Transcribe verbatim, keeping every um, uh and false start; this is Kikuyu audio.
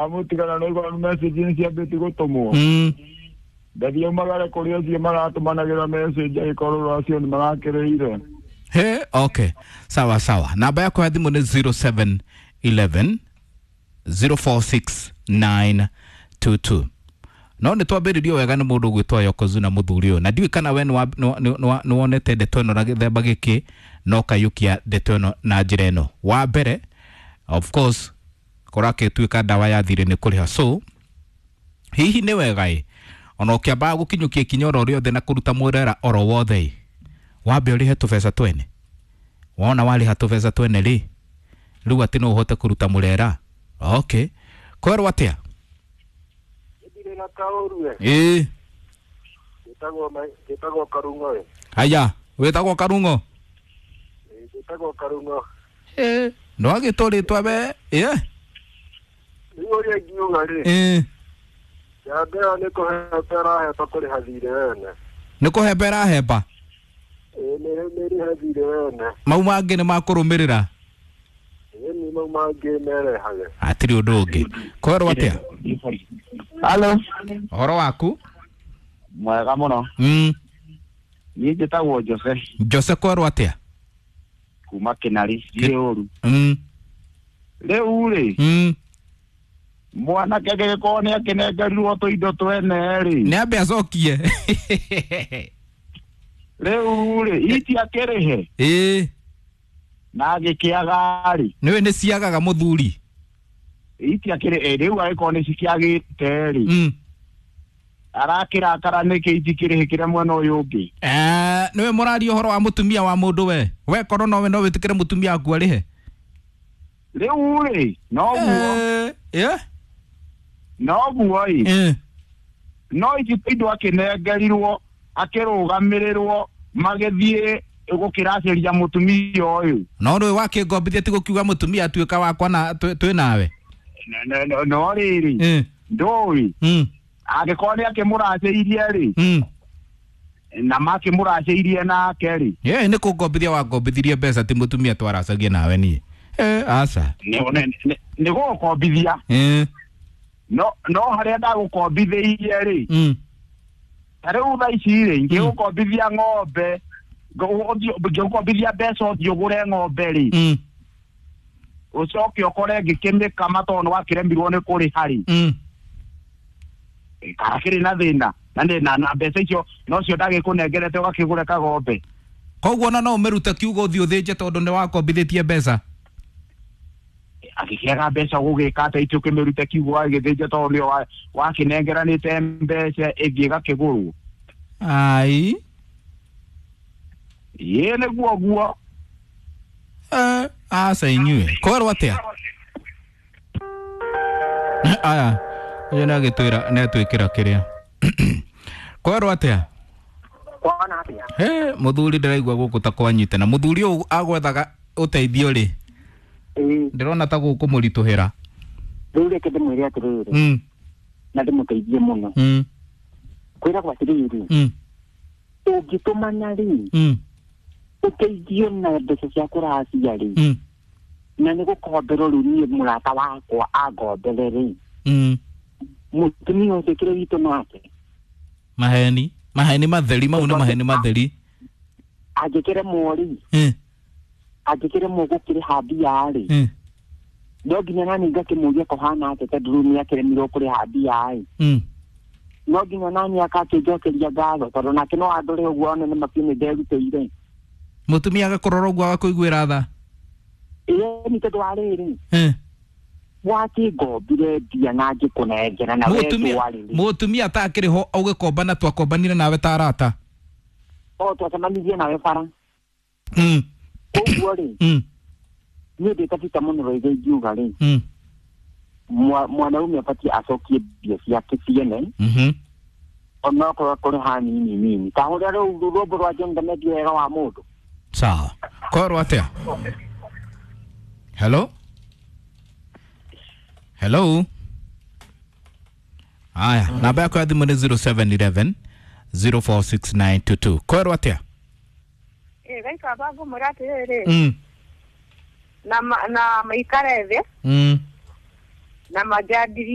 Amutigana no igwa message nĩ ciambĩtie gũtũmwo. Mm. Ndathiĩ umagare kũrĩ acio maratũmanagĩra message agĩkorwo acio nĩ marakĩrĩire. He, okay. Sawa sawa. Namba yako ya thimũ nĩ zero seven eleven zero four six nine two two. No nĩ twambĩrĩrio wega nĩ mũndũ ũgwĩtwo Yokozuna mũthuri ũyũ, na ndiũĩ kana we nĩ wonete ndeto ĩno na gĩthemba gĩkĩ na ũkaiyũkia ndeto ĩno na njĩra ĩno. Wa mbere, of course, kũrakĩtuĩka ndawa ya thirĩ nĩ kũrĩha. So hihi nĩ wega ĩ ona ũkĩambaga gũkinyũkia ikinya oro rĩothe na kũruta mũrera oro wothe ĩ, wambe ũrĩhe tũbeca twene. Wona warĩha tũbeca twene rĩ, rĩu atĩ no ũhote kũruta mũrera. Okay, kwerwo atĩa? Ndirĩ na kaũru we. Ĩĩ. Njĩtagwo njĩtagwo Karung'o we. Haya, wĩtagwo Karung'o? Ĩĩ, njĩtagwo Karung'o. Ĩĩ. Ndwagĩtwo rĩtwa we? Ĩĩ. Rĩu ũrĩa ingiuga rĩ, Ĩĩ. njamba ĩyo nĩ kũhemba ĩrahemba kũrĩha thirĩ wene. Nĩ kũhemba ĩrahemba? Ĩĩ, nĩ nĩ ĩrĩhe thirĩ wene. Mau mangĩ nĩ makũrũmĩrĩra? Ĩĩ, nĩ mau mangĩ merehage. Hatirĩ ũndũ ũngĩ. Kwerwo atĩa? Halo. Ũhoro waku? Mwega mũno. Mm. Niĩ njĩtagwo Jose. Jose, kwerwo atĩa? Kuma Kĩnari, ndirĩ ũru. Mm. Rĩu rĩ, Mm. mwanake angĩgĩkorwo nĩ akĩnengerirwo tũindo twene rĩ, Nĩ ambe acokie. Rĩu rĩ, iti akĩrĩhe. Ĩĩ. Na agĩkĩaga rĩ. Nĩwe nĩ ciagaga mũthuri. Iti akĩrĩ, rĩu angĩkorwo nĩ cikĩagĩte rĩ. Mm. Arakĩrakara nĩkĩ itikĩrĩhĩkĩre mwena ũyũ ũngĩ? Eh, nĩwe mũraria ũhoro wa mũtumia wa mũndũ we. We korwo nowe no wĩtĩkĩre mũtumia waku arĩhe. Rĩu rĩ, noguo. Eh, eh? Noguo ĩ. Eh. No ici indo akĩnengerirwo, akĩrũgamĩrĩrwo, magĩthiĩ gũkĩracĩria mũtumia ũyũ. No rĩu wakĩngombithia ti gũkiuga mũtumia atuĩka wakwa na twĩ nawe. No rĩrĩ, Eh. ndũĩ. Mm. Angĩkorwo nĩ akĩmũracĩirie rĩ, Mm. na makĩmũracĩirie nake rĩ. Ĩĩ, nĩ kũngombithia wangombithirie mbeca ti mũtumia twaracagia nawe niĩ. Eh, aca. Nĩ gũgũkombithia. Eh. No no harĩa ndagũkombithĩirie rĩ. Mm. Ta rĩu thaa ici rĩ, ngĩgũkombithia ng'ombe, ngĩgũkombithia mbeca ũthiĩ ũgũre ng'ombe rĩ. Mm. Ũcoke ũkore ngĩkĩmĩkama tondũ nĩ wakĩremirwo nĩ kũrĩha rĩ. Mm. Kana kĩrĩ na thĩna, na nĩ na na mbeca icio nocio ndagĩkũnengerete ũgakĩgũre kagombe. Koguo ona no ũmĩrute kiugo ũthiĩ ũthĩnje tondũ nĩ wakombithĩtie mbeca. Agĩkĩaga mbeca gũgĩka atĩa itĩ ũkĩmĩrute kiugo agĩthĩnje tondũ nĩyo wakĩnengeranĩte mbeca ĩngĩ ĩgakĩgũrwo. Ai. Ĩĩ, nĩguo guo. Eh, aca inyuĩ. Kwerwo atĩa? Aya, ũyũ nĩ agĩtwĩra nĩ atwĩkĩra kĩrĩa. Kwerwo atĩa? Kwana atĩa? He, mũthuri ndĩraigua gũkũ ta kwanyitana. Mũthuri ũyũ agwethaga ũteithio rĩ. Ĩĩ. Ndĩrona ta gũkũ mũritũhĩra. Rĩu reke ndĩmwĩre atĩrĩrĩ. Mm. Na ndĩmũteithie mũno. Mm. Kwĩragwo atĩrĩrĩ. Mm. Ũngĩtũmana rĩ. Mm. Ũteithio na mbeca cia kũracia rĩ. Mm. Na nĩ gũkomberwo rĩu niĩ mũrata wakwa angombere rĩ. Mm. Mũtumia ũcio kĩrĩa witũ nake. Maheni, maheni matheri mau nĩ maheni matheri. Angĩkĩremwo rĩ. Mm. Angĩkĩremwo gũkĩrĩha mbia rĩ. Mm. No nginya nani ngakĩmũria kũhana atĩa tondũ rĩu nĩ akĩremirwo kũrĩha mbia ĩ. Mm. No nginya nani akakĩnjokeria ngatho tondũ nake no andore ũguo one nĩ mabiũ nĩ nderutĩire. Mũtumia agakũrora ũguo agakũiguĩra tha. Ĩĩ, nĩ tondũ wa rĩrĩ. Eh. Wakĩngombire mbia na ngĩkũnengera na we ndwarĩ rĩ. Mũtumia atakĩrĩ ho ũgĩkomba na twakombanire nawe ta arata. O twacemanirie nawe bara. Mm. Koguo rĩ. Mm. Niĩ ndĩ ta Peter mũno rĩngĩ ingiuga rĩ. Mm. Mwanaume abatiĩ acokie mbia ciake ciene. Mhm. Onokorwo kũrĩha nini nini. Ta ũrĩa rĩu rwĩmbo rwa John Ndamedi wega wa mũndũ. Sawa. Kwerwo atĩa? Hello? Hello? Aya, namba yako ya thimũ nĩ zero seven eleven zero four six nine two two. Kwerwo atĩa? Ĩ, gaika bangũmwĩra atĩrĩrĩ. Mm. Na na maikare thĩ. Mm. Na manjandirie.